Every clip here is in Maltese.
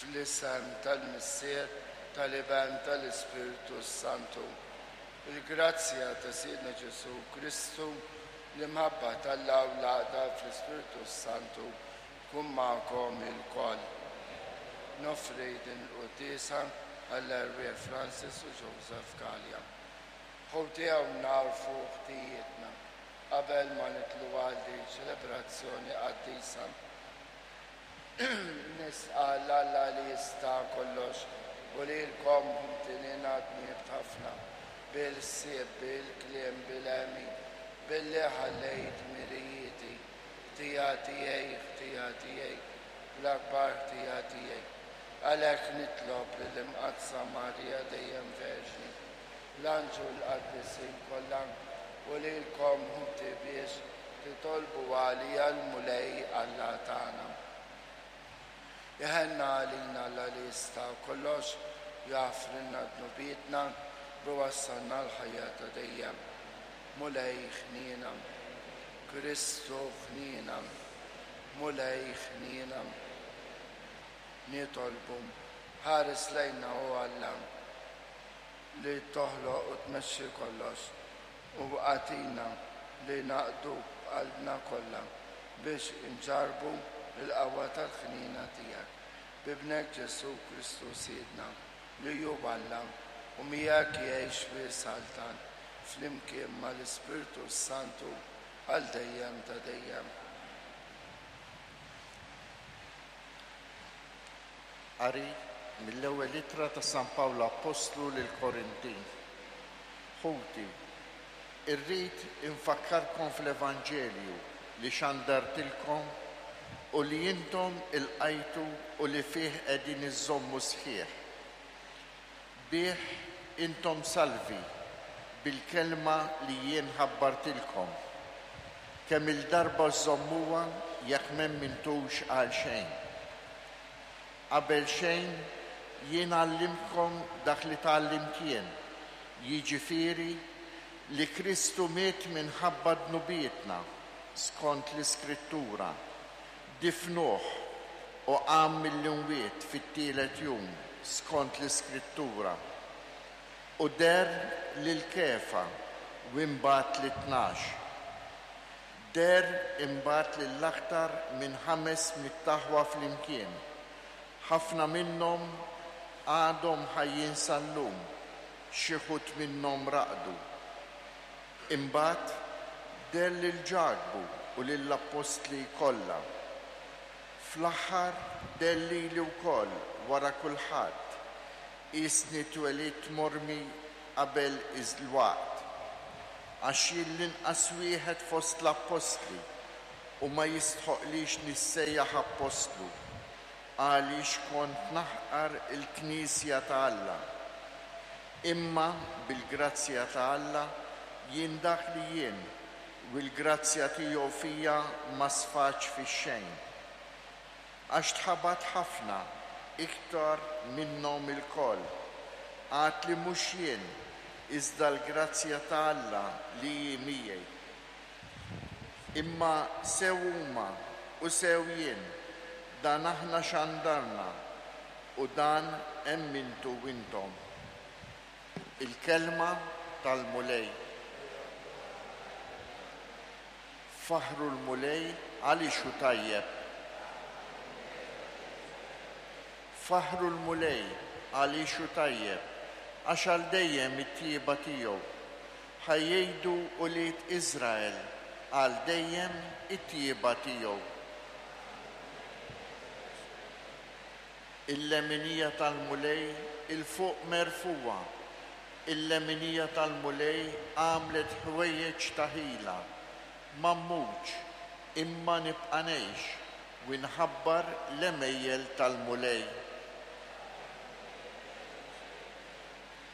Fl-isem tal-Missier, tal-Iben, tal-Ispirtu s-Santu. Il-grazzja ta' Sidna Ġesù Kristu, l-imħabba t'Alla u l-għaqda fl-Ispirtu s-Santu tkun magħkom ilkoll. Noffri din il-quddiesa għall-erwieħ Francis u Joseph Galea. Ħuti hawn nagħrfu ħtijietna qabel ma nidħlu għal din ċelebrazzjoni qaddisa. Nistqarr Alla li jista' kollox u lilkom ħuti li ngħadnibt ħafna, bil-ħsieb, bil-kliem, bil-għemil, billi ħallejt dmirijieti, ħtija tiegħi, ħtija tiegħi, l-akbar ħtija tiegħi. Għalhekk nitlob lill-Imqaddsa Marija dejjem Verġni, l-anġlu l-qaddisin kollha u lilkom ħuti biex titolbu għalija l-Mulej Alla tagħna. Iħenna għalina Alla li jista' kollox, jaħfrilna dnubietna u jwassalna l-ħajja ta' dejjem. Mulej ħniena. Kristu ħniena. Mulej ħniena. Nitolbu. Ħares lejna o Alla li toħloq u tmexxi kollox, u agħtina li naqduk b'qalbna kollha biex inġarrbu l-qawwa tal-ħniena tiegħek. B'Ibnek Ġesù Kristu Sidna, li hu Alla, u miegħek jgħix u jsaltan flimkien mal-Ispirtu s-Santu għal dejjem ta' dejjem. Qari mill-ewwel ittra ta' San Pawl Appostlu lill-Korintin. Ħuti, irrid infakkarkom fl-Evanġelju li xandartilkom u li intom ilqajtu u li fih qegħdin iżżommu sħiħ. Bih intom salvi bil-kelma li jien ħabbartilkom, kemm-il darba żżommuha jekk m'emmintux għal xejn. Qabel xejn, jien għallimtkom dak li tgħallimt jien, jiġifieri li Kristu miet minħabba dnubietna, skont l-Iskrittura, difnuh u qam mill-imwiet fit-tielet jum, skont l-Iskrittura, u deher lil Kefa u imbagħad lit-tnax. Deher imbagħad lil aktar minn 500 aħwa flimkien, ħafna minnhom għadhom ħajjin sal-lum, xi wħud minnhom raqdu. Imbagħad deher lil Ġakbu u lill-appostli kollha. Fl-aħħar deher lili wkoll wara kulħadd, Qisni twelidt mormi qabel il-waqt, għax jien l-inqas wieħed fost l-appostli u ma jistħoqqlix nissejjaħ appostlu, għaliex kont naħqar il-knisja ta' Alla. Imma bil-grazzja ta' Alla jien dak li jien, u l-grazzja tiegħu fija ma sfatx fix-xejn. Għax tħabat ħafna iktar minnhom ilkoll, għad li mhux jien, iżda l-grazzja ta' Alla li hi miegħi. Imma sew huma u sew jien, dan aħna xandarna, u dan emmintu intom. Il-Kelma tal-Mulej. Faħħru l-Mulej għaliex hu tajjeb. Faħħru l-Mulej għaliex hu tajjeb, għax għal dejjem it-tjieba tiegħu. Ħa jgħidu ulied Iżrael għal dejjem it-tjieba tiegħu. Il-leminija tal-Mulej 'il fuq merfugħa, Il-leminija tal-Mulej għamlet ħwejjeġ ta' ħila. Ma mmutx, imma nibqa' ngħix, u nħabbar l-għemejjel tal-Mulej.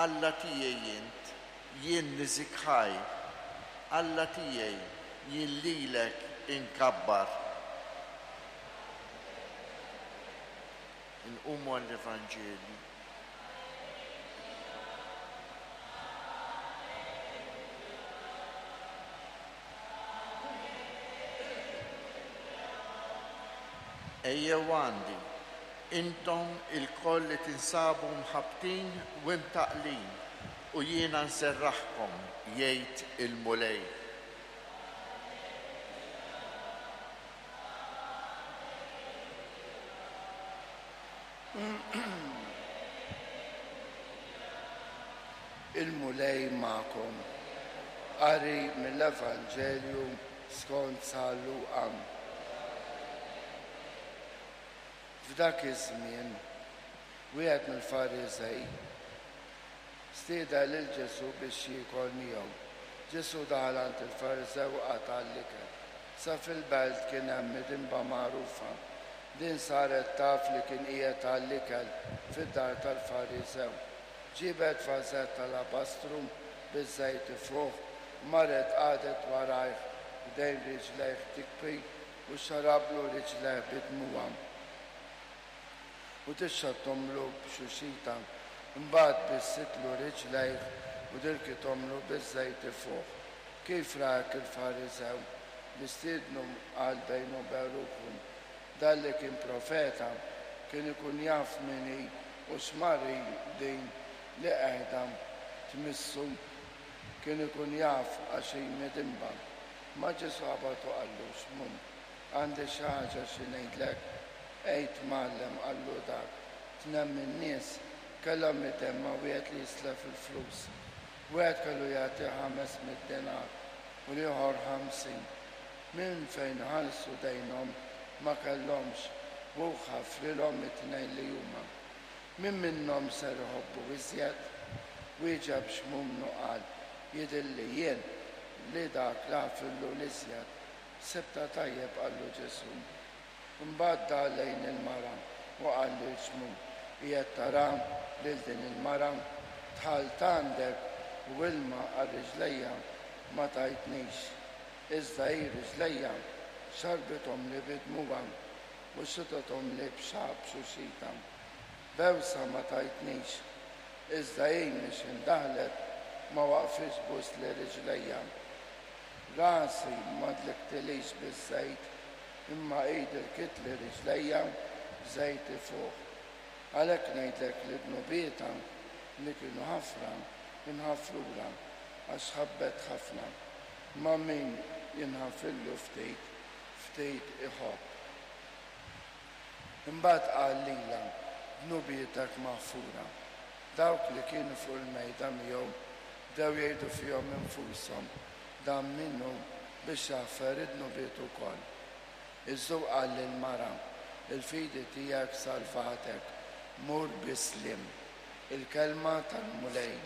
Alla tiegħi int, jien niżik ħajr, Alla tiegħi, jien lilek inkabbar. Inqumu għall-Evanġelju. Ejjew għandi. intom ilkoll li tinsabu mħabbtin u imtaqqlin, u jiena nserraħkom, jgħid il-Mulej. Il-Mulej magħkom. Qari mill-Evanġelju skont San Luqa. F'dak iż-żmien, wieħed mill-Fariżej stieden lil Ġesù biex jiekol miegħu. Ġesù daħal għand il-Fariżew u qagħad għall-ikel. Sa fil-belt kien hemm midinba magħrufa. Din saret taf li kien qiegħed għall-ikel fid-dar tal-Fariżew. Ġiebet vażett alabastru biż-żejt ifuħ u marret qagħdet warajh ħdejn riġlejh tikbi u xxarablu riġlejh bi dmugħha u tixxottomlu b'xuxita. Imbagħad bissitlu riġlejh u dirkithomlu biż-żejt ifuħ. Kif ra hekk il-Fariżew li stiednu qal bejnu u bejn ruħu, Dan li kien profeta kien ikun jaf min hi u x'mar hi din li qiegħda tmissu. Kien ikun jaf għax hi midinba. Ma Ġesù qabad u qallu, Xmun, għandi xi ħaġa xi ngħidlek. Għid, Mgħallem, qallu dak. Tnejn min-nies kellhom idejn ma' wieħed li jislef il-flus. Wieħed kellu jagħtih 500 dinar u l-ieħor 50. Minn fejn iħallsu dejnhom ma kellhomx, hu ħafrilhom it-tnejn li huma. Min minnhom ser iħobbu iżjed? Wieġeb Xmun u qal, Jidhirli jien li dak li ħafirlu l-iżjed. Sibtha tajjeb, qallu Ġesù. Imbagħad dar lejn il-mara u qal lil Xmun, Qiegħed tara lil din il-mara? Dħalt għandek u ilma għal riġlejja ma tajtnix, iżda hi riġlejja xarrbithomli bi dmugħha u xitithomli b'xagħar b'xuxita. Bewsa ma tajtnix, iżda hi mhix indaħlet ma waqfitx tbusli riġlejja. Rasi ma dliktilix biż-żejt, imma hi dirkitli riġlejja b'żejt ifuħ. Għalhekk ngħidlek li dnubietha, li kienu ħafna, inħafrulha, għax ħabbet ħafna. Imma min jinħafirlu ftit, ftit iħobb. Imbagħad qal lilha, Dnubietek maħfura. Dawk li kienu fuq il-mejda miegħu bdew jgħidu fihom infushom, Dan min hu biex jaħfer id-dnubiet ukoll? Iżda hu qal lill-mara, Il-fidi tiegħek salvatek, mur bis-sliem. Il-Kelma tal-Mulej.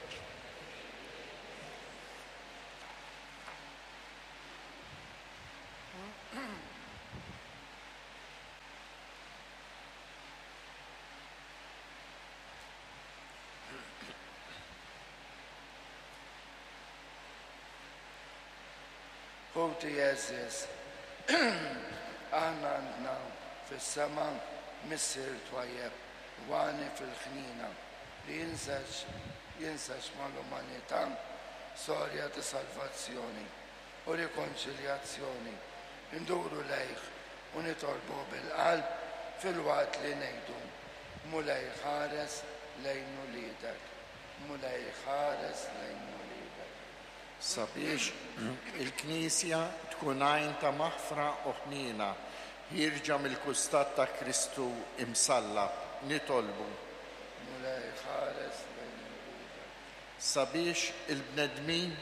Ħuti għeżież, aħna għandna fis-sema Missier twajjeb u għani fil-ħniena li jinseġ jinseġ mal-umanità storja ta' salvazzjoni u rikonċiljazzjoni. Induru lejh u nitolbuh bil-qalb filwaqt li ngħidu, Mulej ħares lejn uliedek. Mulej ħares lejn uliedek. Sabiex il-Knisja tkun għajn ta' maħfra u ħniena ħierġa mill-kustat ta' Kristu imsallab, nitolbu. Mulej ħares lejn uliedek. Sabiex il-bnedmin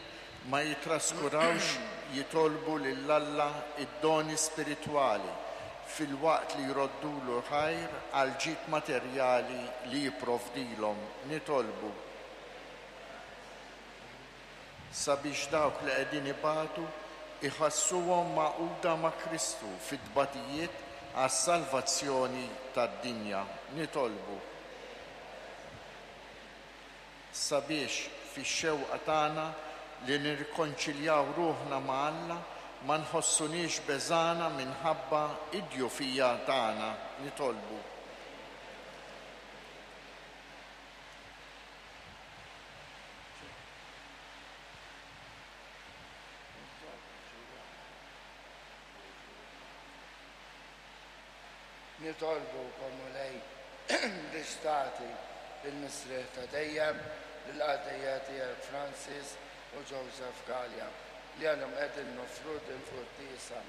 ma jittraskurawx jitolbu lil Alla d-doni spiritwali filwaqt li jroddulu ħajr għall-ġid materjali li jipprovdilhom, nitolbu. Sabiex dawk li qegħdin ibatu jħassuhom magħquda ma' Kristu fit-tbatijiet għas-salvazzjoni tad-dinja, nitolbu. Sabiex fix-xewqa tagħna li nirrikonċiljaw ruħna ma' Alla ma nħossuniex beżgħana minħabba d-djufija tagħna, nitolbu. Nitolbukom, Mulej. Biex tagħti l-mistrieħ ta' dejjem lill-qaddejja tiegħek Francis u Joseph Galea, li għalihom qegħdin noffru dil-quddiesa.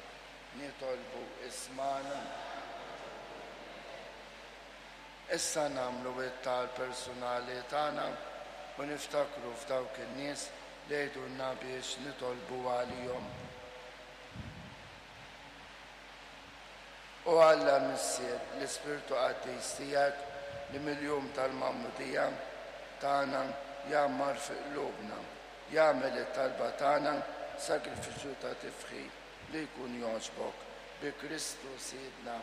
Nitolbu ismagħna. Issa nagħmlu t-talb personali tagħna u niftakru f'dawk in-nies li jgħidulna biex nitolbu għalihom. O Alla Missier, l-Ispirtu Qaddis tiegħek li mill-jum tal-Magħmudija tagħna jgħammar fi qlubna, jagħmel it-talba tagħna sagrifiċċju ta' tifħir li jkun jogħġbok, bi Kristu Sidna.